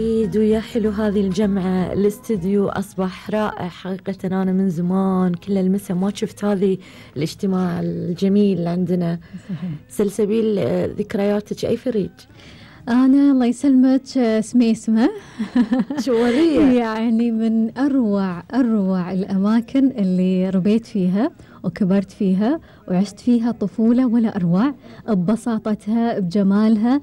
ويا حلو هذه الجمعة. الاستديو أصبح رائع حقيقة. أنا من زمان كل المسا ما شفت هذه الاجتماع الجميل اللي عندنا. سلسبيل ذكرياتك أي فريج؟ أنا الله يسلمك سميسمة. شوالية يعني من أروع الأماكن اللي ربيت فيها وكبرت فيها وعشت فيها طفولة ولا أروع، ببساطتها بجمالها.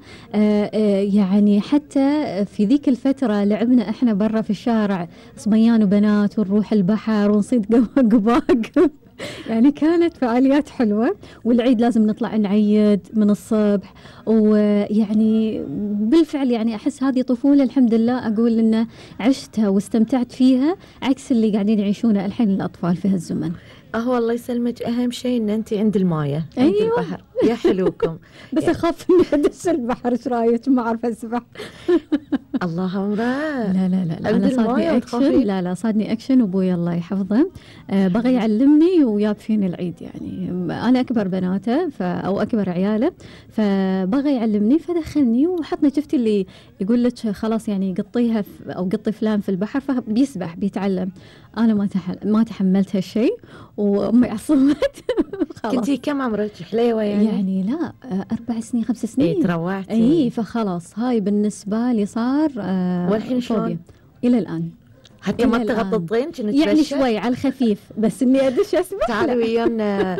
يعني حتى في ذيك الفترة لعبنا إحنا برا في الشارع صبيان وبنات ونروح البحر ونصيد قباق. يعني كانت فعاليات حلوة. والعيد لازم نطلع نعيد من الصبح. ويعني بالفعل يعني أحس هذه طفولة الحمد لله أقول إن عشتها واستمتعت فيها عكس اللي قاعدين يعيشونه الحين الأطفال في هالزمن. الله يسلمك. أهم شيء إن أنت عند المايه أيوة. عند البحر يا حلوكم. بس يعني أخاف إني أدش البحر. إيش رأيك؟ ما أعرف أسبح. الله أمره. لا أنا صادني أكشن. لا صادني أكشن. وأبوي الله يحفظه بغى يعلمني وياب فيني العيد. يعني أنا أكبر بناته أو أكبر عياله، فبغى يعلمني فدخلني وحطني. شفتي اللي يقول لك خلاص يعني قطيها أو قطي فلان في البحر فبيسبح بيتعلم. أنا ما تحملت هالشيء وأمي عصمت. كنتي كم عمرك حليوة يعني لا 4 سنين 5 سنين. إيه تروعتي. فخلاص هاي بالنسبة لي صار والحين شلون؟ إلى الآن حتى ما تغططين يعني شوي على الخفيف بس إني أدش أسبح. تعالوا ويانا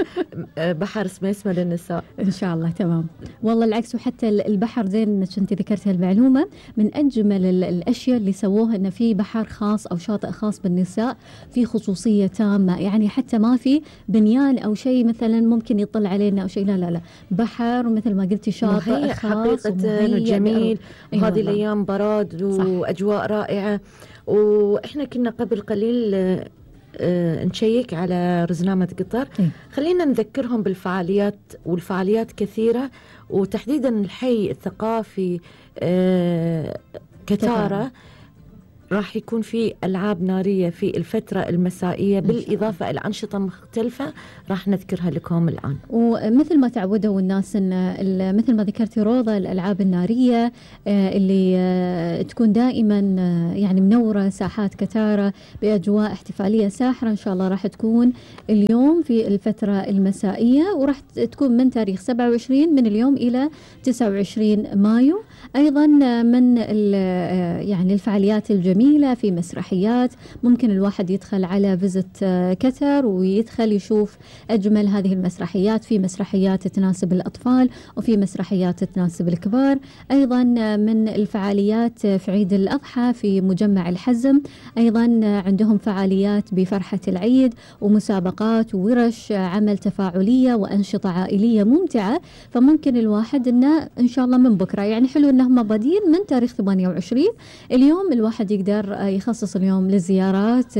بحر سميسمة للنساء إن شاء الله. تمام والله العكس. وحتى البحر زين إنك أنت ذكرت هالمعلومة. من أجمل الأشياء اللي سووها إنه في بحر خاص أو شاطئ خاص بالنساء في خصوصية تامة. يعني حتى ما في بنيان أو شيء مثلا ممكن يطل علينا أو شيء. لا بحر مثل ما قلتي شاطئ خاص حقيقة وجميل. وهذه الأيام براد وأجواء رائعة. وإحنا كنا قبل قليل نشيك على رزنامة قطر. خلينا نذكرهم بالفعاليات. والفعاليات كثيرة وتحديدا الحي الثقافي كتارة راح يكون في ألعاب نارية في الفترة المسائية بالإضافة إلى أنشطة مختلفة راح نذكرها لكم الآن. ومثل ما تعودوا الناس إن مثل ما ذكرتي روضة الألعاب النارية اللي تكون دائما يعني منورة ساحات كتارة بأجواء احتفالية ساحرة. إن شاء الله راح تكون اليوم في الفترة المسائية وراح تكون من تاريخ 27 من اليوم إلى 29 مايو. أيضا من يعني الفعاليات الجميلة في مسرحيات. ممكن الواحد يدخل على فيزت كتر ويدخل يشوف أجمل هذه المسرحيات. في مسرحيات تناسب الأطفال وفي مسرحيات تناسب الكبار. أيضا من الفعاليات في عيد الأضحى في مجمع الحزم أيضا عندهم فعاليات بفرحة العيد ومسابقات وورش عمل تفاعلية وأنشطة عائلية ممتعة. فممكن الواحد إنه إن شاء الله من بكرة يعني حلو إنهم بادين من تاريخ 28 اليوم الواحد يقدر يخصص اليوم للزيارات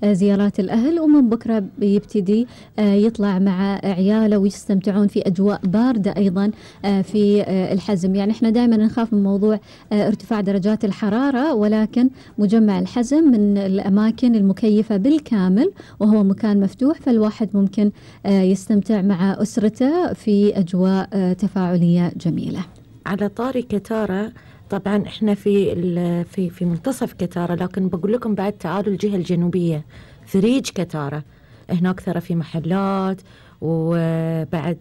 زيارات الأهل. ومن بكرة بيبتدي يطلع مع عياله ويستمتعون في أجواء باردة أيضا في الحزم. يعني إحنا دائما نخاف من موضوع ارتفاع درجات الحرارة ولكن مجمع الحزم من الأماكن المكيفة بالكامل وهو مكان مفتوح فالواحد ممكن يستمتع مع أسرته في أجواء تفاعلية جميلة. على طاري كتارة طبعا احنا في منتصف كتارة لكن بقول لكم بعد تعالوا الجهة الجنوبية فريج كتارة. هناك ترى في محلات وبعد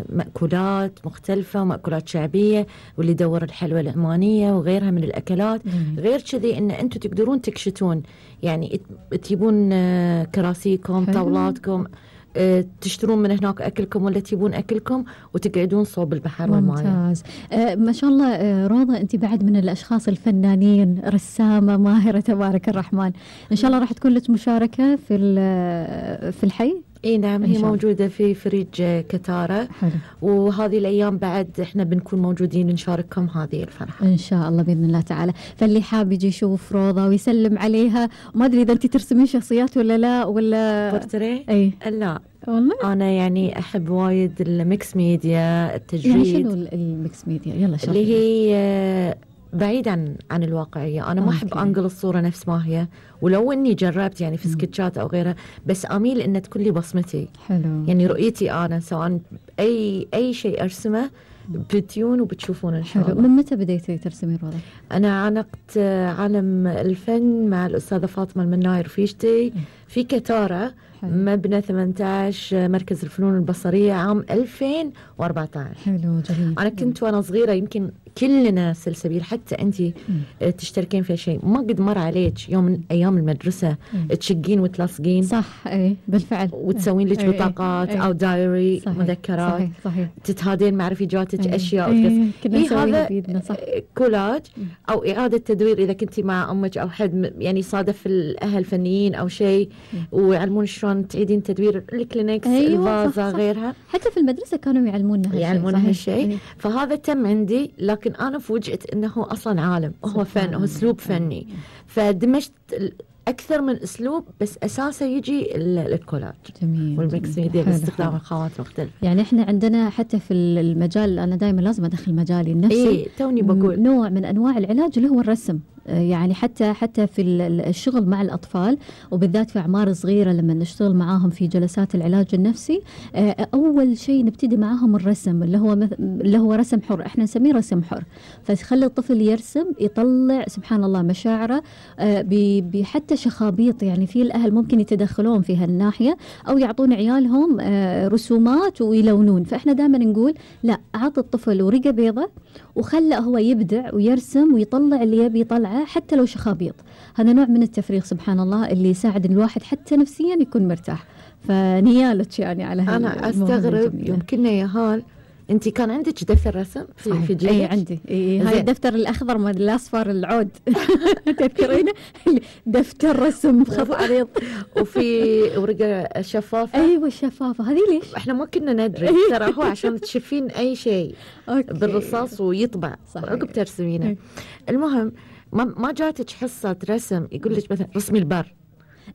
مأكولات مختلفة ومأكولات شعبية واللي يدور الحلوى العمانية وغيرها من الأكلات. غير كذي إن أنتم تقدرون تكشتون يعني تجيبون كراسيكم طاولاتكم تشترون من هناك أكلكم ولا تجيبون أكلكم وتقعدون صوب البحر والماء. ممتاز. ما شاء الله روضة أنت بعد من الأشخاص الفنانين رسامة ماهرة تبارك الرحمن. إن شاء الله راح تكون لك مشاركة في الحي. اي نعم هي موجودة في فريج كتارة. حلو. وهذه الأيام بعد احنا بنكون موجودين نشارككم هذه الفرحة إن شاء الله بإذن الله تعالى. فاللي حاب يجي يشوف روضة ويسلم عليها. وما أدري إذا أنت ترسمين شخصيات ولا لا ولا بورتريه. أي لا والله أنا يعني أحب وايد الميكس ميديا التجريد. يعني شنو الميكس ميديا؟ يلا شرح. اللي هي بعيد عن الواقعية. أنا ما أحب أنقل الصورة نفس ما هي ولو إني جربت يعني في سكتشات أو غيرها بس أميل إن تكون لي بصمتي. حلو. يعني رؤيتي أنا سواء أي شيء أرسمه بتيون وبتشوفون إن شاء حلو. الله. من متى بديتي ترسمي روضة؟ أنا عانقت عالم الفن مع الأستاذة فاطمة المناي رفيجتي في كتارة، مبنى 18 مركز الفنون البصرية، عام 2014. حلو جميل. أنا كنت وأنا صغيرة، يمكن كلنا سلسبيل، حتى أنت تشتركين في شيء، ما قد مر عليك يوم من أيام المدرسة تشقين وتلاصقين؟ صح، أي بالفعل. وتسوين لك بطاقات أو دايري، صحيح. مذكرات. صحيح. صحيح. تتهادين مع رفيجاتك أشياء. كنا نسويها بيدنا. صح. كولاج أو إعادة تدوير إذا كنتي مع أمك أو حد يعني صادف الأهل فنيين أو شيء، ويعلمون شلون تعيدين تدوير الكلينكس، الفازة، غيرها. حتى في المدرسة كانوا يعلمونا هالشيء. فهذا تم عندي، لكن أنا فوجئت أنه أصلا عالم، هو فن، هو أسلوب فني. فدمجت أكثر من أسلوب، بس أساسا يجي الكولاج. جميل. والميكس ميديا باستخدام الخامات مختلفة. يعني إحنا عندنا حتى في المجال، أنا دائما لازم أدخل مجالي النفسي. توني بقول نوع من أنواع العلاج اللي هو الرسم. يعني حتى في الشغل مع الأطفال، وبالذات في أعمار صغيرة لما نشتغل معاهم في جلسات العلاج النفسي، أول شيء نبتدي معاهم الرسم اللي هو رسم حر، إحنا نسميه رسم حر. فتخلي الطفل يرسم، يطلع سبحان الله مشاعره بحتى شخابيط. يعني في الأهل ممكن يتدخلون في هالناحية أو يعطون عيالهم رسومات ويلونون. فإحنا دائما نقول لا، أعط الطفل ورقة بيضة وخلى هو يبدع ويرسم ويطلع اللي يبي يطلعه حتى لو شخابيط. هذا نوع من التفريغ سبحان الله اللي يساعد الواحد حتى نفسيا يكون مرتاح. فنيالك يعني على هذا. أنا أستغرب يمكن يا هال، أنت كان عندك دفتر رسم في جيبك؟ أي عندي. هاي الدفتر الأخضر ما الأصفر العود تذكرينه؟ دفتر رسم بخط عريض وفي ورقة شفافة. أيوة الشفافة هذه. ليش؟ إحنا ما كنا ندري، ترى هو عشان تشوفين أي شيء بالرصاص ويطبع عقب ترسمينه. المهم ما جاتك حصة رسم يقول لك مثلا رسمي البر،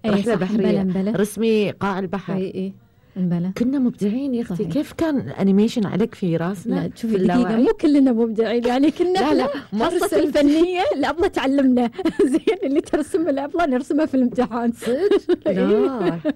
رحلة بحرية، رسمي قاع البحر؟ انبلا. كنا مبدعين يا اختي. كيف كان الانيميشن عليك في راسنا؟ لا شوفي دقيقة، مو كلنا مبدعين يعني. كنا لا حصة الفنية الأبلة تعلمنا زين، اللي ترسم الأبلة نرسمها في الامتحان.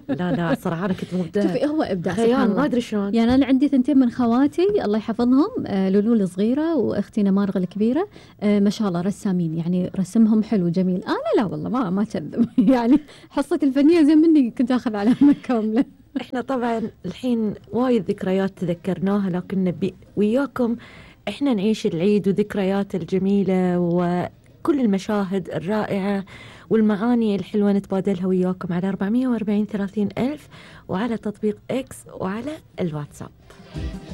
لا صراحة أنا كنت مبدعة. شوفي هو إبداع خيال، ما أدري شلون. يعني أنا عندي 2 من خواتي الله يحفظهم، لولو الصغيرة وأختي نمارغ الكبيرة، ما شاء الله رسامين، يعني رسمهم حلو جميل. أنا لا والله ما كذب يعني حصة الفنية زي مني كنت أخذ علامة كاملة. احنا طبعا الحين وايد ذكريات تذكرناها، لكن نبي وياكم احنا نعيش العيد وذكريات الجميلة وكل المشاهد الرائعة والمعاني الحلوة نتبادلها وياكم على 440 30 ألف، وعلى تطبيق إكس، وعلى الواتساب.